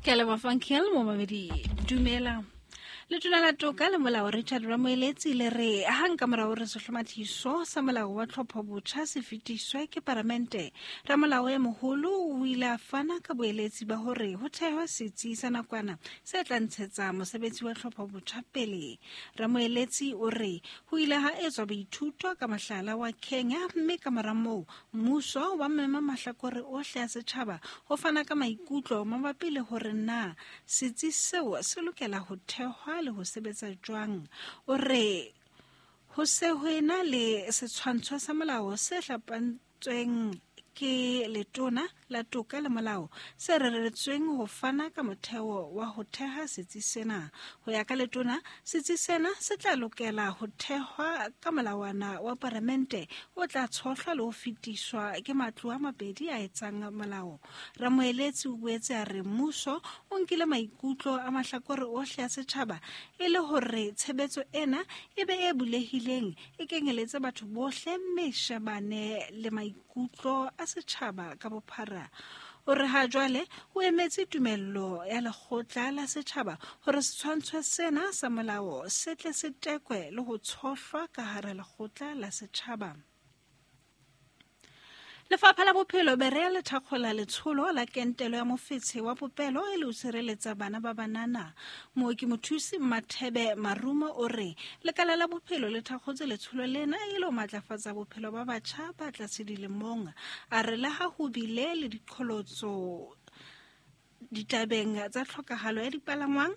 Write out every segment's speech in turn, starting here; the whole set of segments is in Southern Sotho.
Ke a leboha Funkel momamedi dumela. Letona la toka le molao Richard Ramoeletsi le re hang ka mora hore sehlomathiso sa molao wa tlhopho botjha se fetiswe ke paramente, ramolao e moholo o ile a fana ka boeletsi ba hore ho thehwe setsi sa nakwana se tla ntshetsa mosebetsi wa tlhopho botjha pele. Ramoeletsi o re ho ile ha etswa boithuto ka mohlala wa Kenya mme ka mora moo mmuso wa mema mahlakore ohle a setjhaba ho fana ka maikutlo mabapi le hore na setsi seo se lokela ho thehwa le ho sebetsa jwang. O re ho se ho ena le setshwantsho sa molao se hlapantsweng ke letona la toka le molao se reretsweng ho fana ka motheo wa ho theha setsi sena. Ho ya ka letona, setsi sena se tla lokela ho thehwa ka molawana wa paramente o tla tshohlwa le ho fetiswa ke matlo a mabedi a etsang molao. Ramoeletsi o boetse a re mmuso o nkile maikutlo a mahlakore ohle a setjhaba e le hore tshebetso ena e be e bulehileng, e kenyeletse batho bohle mme e shebane le maikutlo a setjhaba ka bophara. O re ha jwale o emetse tumello ya lekgotla la setjhaba hore setshwantsho sena sa molao se tle se tekwe le ho tshohlwa ka hara lekgotla la setjhaba. Lefapha la Bophelo Berea le thakgola letsholo la kentelo ya mofetshe wa popelo e le ho sireletsa bana ba banana. Mooki mothusi Mmathebe Marumo o re lekala la bophelo le thakgotse letsholo lena e le ho matlafatsa bophelo ba batjha ba tlase dilemong. A re le ha ho bile le diqholotso ditabeng tsa tlhokahalo ya dipalangwang,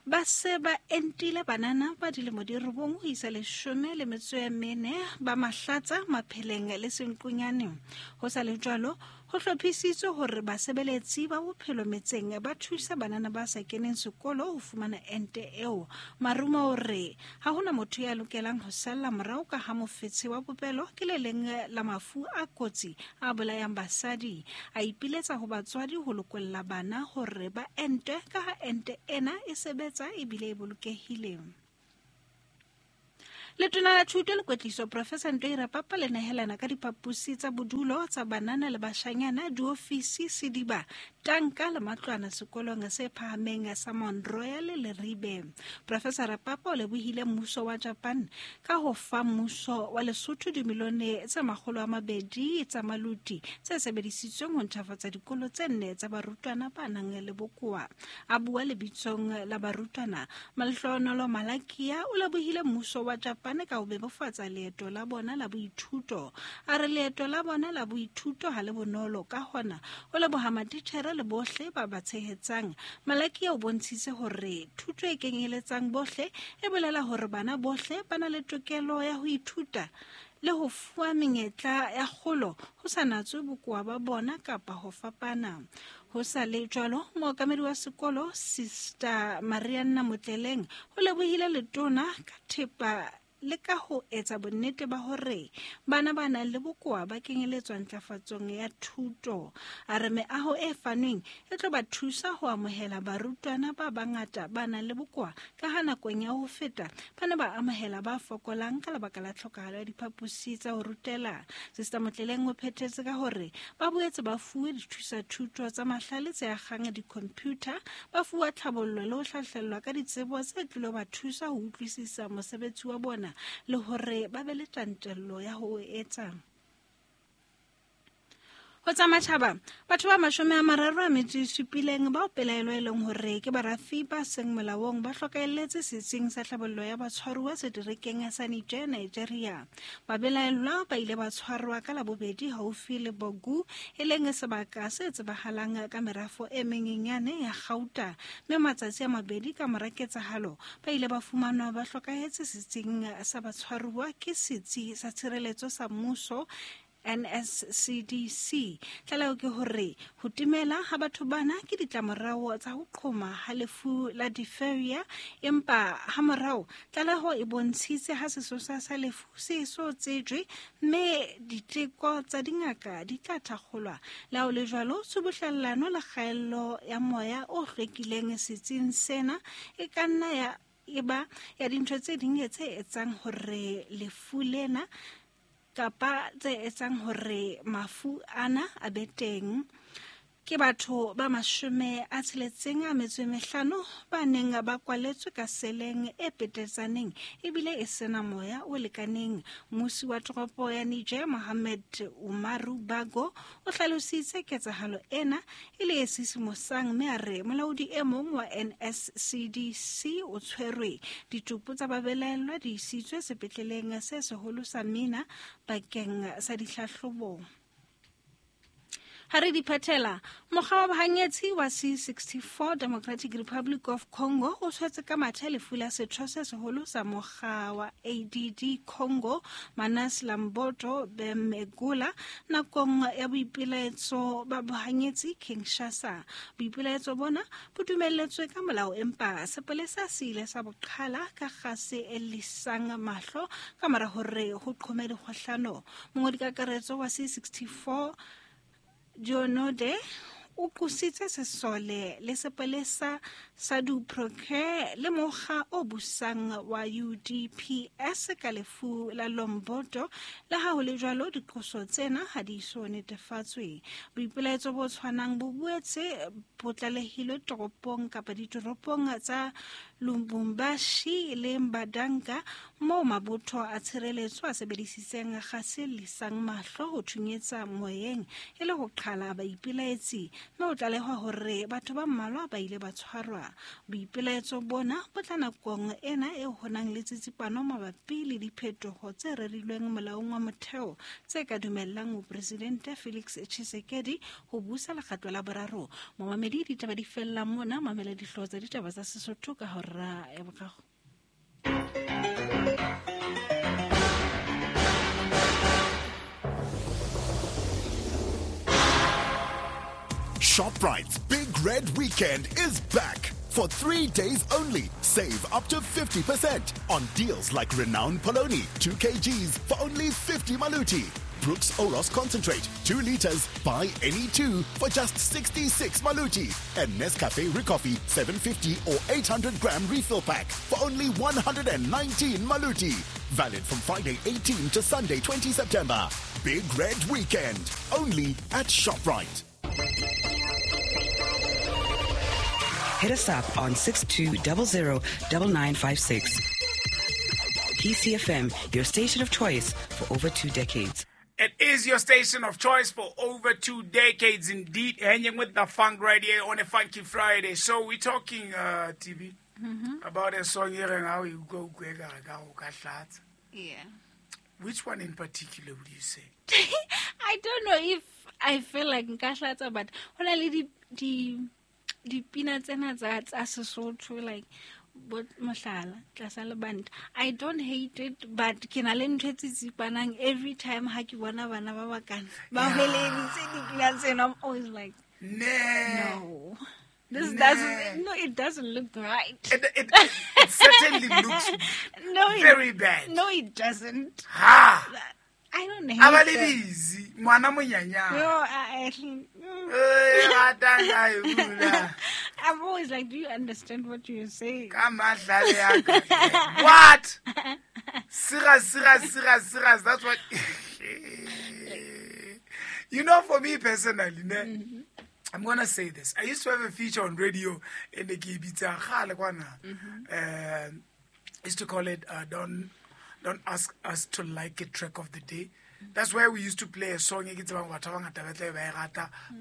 ba se ba entile banana ba dilemo di robong ho isa 14 ba Mahlatsa, Mapheleng le Senqunyane. Ho sa le jwalo, ho hlophisitswe hore basebeletsi ba bophelo metseng ba thusa banana ba sa keneng sekolo ho fumana ente eo. Marumo o re ha hona motho ya lokelang ho salla morao ka ha mofetshe wa popelo ke le leng la mafu a kotsi a bolayang basadi. A ipiletsa ho batswadi ho lokolla bana hore ba ente ka ha ente ena e sebetsa ebile e bolokehile. Letona la Thuto le Kwetliso Professor Ntoi Rapapa le nehelana ka diphaposi tsa bodulo tsa banana le bashanyana, diofisi, sediba, tanka le matlwana sekolong se phahameng sa Mount Royal Leribe. Professor Rapapa o lebohile mmuso wa Japan ka ho fa mmuso wa Lesotho dimilione tse 200 tsa maluti tse sebedisitsweng ho ntjhafatsa dikolo tse nne tsa barutwana ba nang le bokowa. A bua lebitsong la barutwana, Malehlohonolo Malakia o lebohile mmuso wa Japan ka ho bebofatsa leeto la bona la boithuto. A re leeto la bona la boithuto ha le bonolo, ka hona o leboha matitjhere le bohle ba ba tshehetsang. Malakia o bontshitse hore thuto e kenyeletsang bohle e bolela hore bana bohle ba na le tokelo ya ho ithuta le ho fuwa menyetla ya kgolo ho sa natswe bokowa ba bona kapa ho fapana. Ho sa le jwalo, mookamedi wa sekolo Sister Marianna Motleleng o lebohile letona ka thepa le ka ho etsa bonnete ba hore bana ba nang le bokowa ba kenyeletswa ntlafatsong ya thuto. A re meaho e fanweng e tlo ba thusa ho amohela barutwana ba bangata ba nang le bokowa ka ha nakong ya ho feta ba ne ba amohela ba fokolang ka lebaka la tlhokahalo ya diphaposi tsa ho rutela. Sister Motleleng o phethetse ka hore ba boetse ba fuwe dithusa-thuto tsa mahlale tse akgang di-computer, ba fuwa tlhabollo le ho hlahlellwa ka ditsebo tse tlilo ba thusa ho utlwisisa mosebetsi wa bona le hore ba be le tjantjello ya ho o etsa. Ho tsa matjhaba, batho ba 37 bao pelaelo e leng hore ke barafi ba seng molaong ba hlokahelletse setsing sa tlhabollo ya batshwaruwa seterekeng sa Niger, Nigeria. Babelaellwa ba ile ba tshwarwa ka Labobedi haufi le Bogu, e leng sebaka se tsebahalang ka merafo e menyenyane ya kgauta, mme matsatsi a mabedi ka mora ketsahalo ba ile ba fumanwa ba hlokahetse setsing sa batshwaruwa ke setsi sa tshireletso sa mmuso NSCDC. Tlaleho ke hore ho timela ha batho bana ke ditlamorao tsa ho qhoma ha lefu la diphtheria, empa hamorao tlaleho e bontshitse ha sesosa sa lefu se so tsejwe mme diteko tsa dingaka di tla thakgolwa. Le ha ho le jwalo, tshubuhlellano le kgaello ya moya o hlwekileng setsing sena e ka nna ya eba ya dintho tse ding tse etsang hore lefu lena kapa tse etsang hore mafu ana a be teng. Ke batho ba 65 ba neng ba kwaletswe ka seleng e petetsaneng ebile e sena moya o lekaneng. Mmusi wa toropo ya Niger Mohamed Umaru Bago o hlalositse ketsahalo ena e le e sisimosang mme a re molaodi e mong wa NSCDC o tshwerwe. Ditopo tsa babelaellwa di isitswe sepetleleng se seholo sa Mina bakeng sa dihlahlobo. Ha re di phethela, mokga wa bohanyetsi wa C64 Democratic Republic of Congo o tshwetse ka mathe lefu la setho se seholo sa mokga wa ADD Congo Manas Lamboto Bemegula nakong ya boipelaetso ba bohanyetsi Kinshasa. Boipelaetso bona bo dumelletswe ka molao empa sepolesa se ile sa boqhala ka kgase e lisang mahlo ka mora hore ho qhome dikgohlano. Mongodi kakaretso wa C64 Dionode o qositse sesole le sepolesa sa Duproke le mokga o busang wa UDPS ka lefu la Lomboto. Le ha ho le jwalo, diqoso tsena ha di so netefatswe. Boipelaetso bo tshwanang bo boetse bo tlalehilwe toropong kapa ditoropong tsa Lubumbashi le Mbandaka moo mabotho a tshireletso a sebedisitseng kgase lisang mahlo ho thunyetsa moyeng e le ho qhala baipelaetsi, mme ho tlalehwa hore batho ba mmalwa ba ile ba tshwarwa. Boipelaetso bona bo tla nakong ena e ho nang le tsitsipano mabapi le diphetoho tse rerilweng molaong wa motheo tse ka dumellang mopresidente Felix Tshisekedi ho busa lekgatlo la boraro. Momamedi, ditaba di fella mona, mamela dihlooho tsa ditaba tsa Sesotho ka hora ya boraro. ShopRite's Big Red Weekend is back. For 3 days only, save up to 50% on deals like Renowned Poloni, 2 kgs for only 50 maluti. Brooks Oros Concentrate, 2 liters, buy any two for just 66 maluti. And Nescafe Recoffee, 750 or 800 gram refill pack for only 119 maluti. Valid from Friday 18 to Sunday 20 September. Big Red Weekend, only at ShopRite. Hit us up on 6200 9956. PCFM, your station of choice for over 2 decades. It is your station of choice for over 2 decades indeed. Hanging with the funk right here on a Funky Friday. So we're talking, TV, about a song here and how you go. Yeah. Which one in particular would you say? I don't know if I feel like nka hlatsa, but hona le di dipina tsena tsa Sesotho, like bo mohlala tlasa lebanta. I don't hate it, but ke na le ntho e tsitsipanang every time ha ke bona bana ba bakana ba hweleditse dipina tsena. I'm always like, no, this doesn't, no, it doesn't look right. It certainly looks very bad. No, it doesn't. Ha! I don't hate it. No, I'm always like, do you understand what you're saying? What? Sira, sira, sira, sira. That's what. You know, for me personally, mm-hmm. I'm going to say this. I used to have a feature on radio in the Kibitsa. I used to call it Don't Ask Us to Like It Track of the Day. That's where we used to play a song.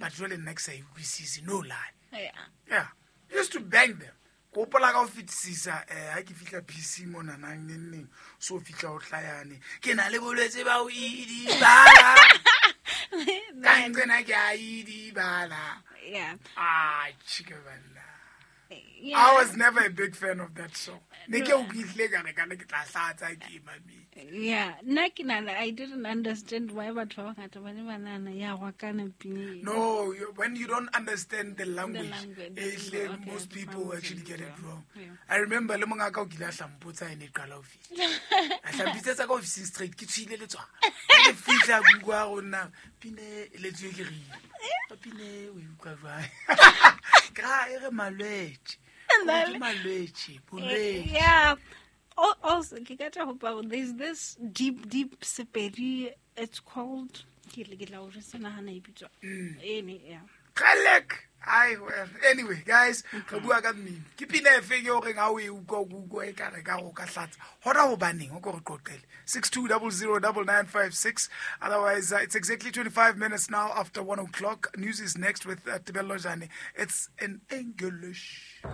But really next year, we see no lie. Yeah. Yeah. We used to bang them. Gopola ka o fetisisa ha ke fihla PC mona nang neng neng so fihla o tlayane ke na le bolwetse ba o idibala ka ntsena ke a idibala. Yeah. Ah, chika banna. Yeah. I was never a big fan of that song. Ne ke o kihle ka re ka ne ke tla hlatsa ke mami. Yeah, nna ke nana I didn't understand why batho ba bangata ba ne ba nahana ya gwakana pina. No, when you don't understand the language, okay, most people actually get it wrong. Yeah. I remember le mongaka o kile a hlampotsa ene qala o fihla. A hlampitsetsa ka office straight ke tshwile le tswa. Ke fihla go go nna pine le tswe ke rile. Pine o utlwa jwang? Ka e re malwetse. Malwetse, bolwetse. Yeah. Also, there's this deep, deep Sepedi. It's called. Yeah. Kgalek. Ai, well, anyway, guys, re bua ka mmino. Ke pina e feng eo reng ha o e utlwa o utlwa e ka re ka go ka hlatsa. Hona hobaneng o ko re qoqele. 62009956. Otherwise, it's exactly 25 minutes now after 1 o'clock. News is next with Tebello Jane. It's in English.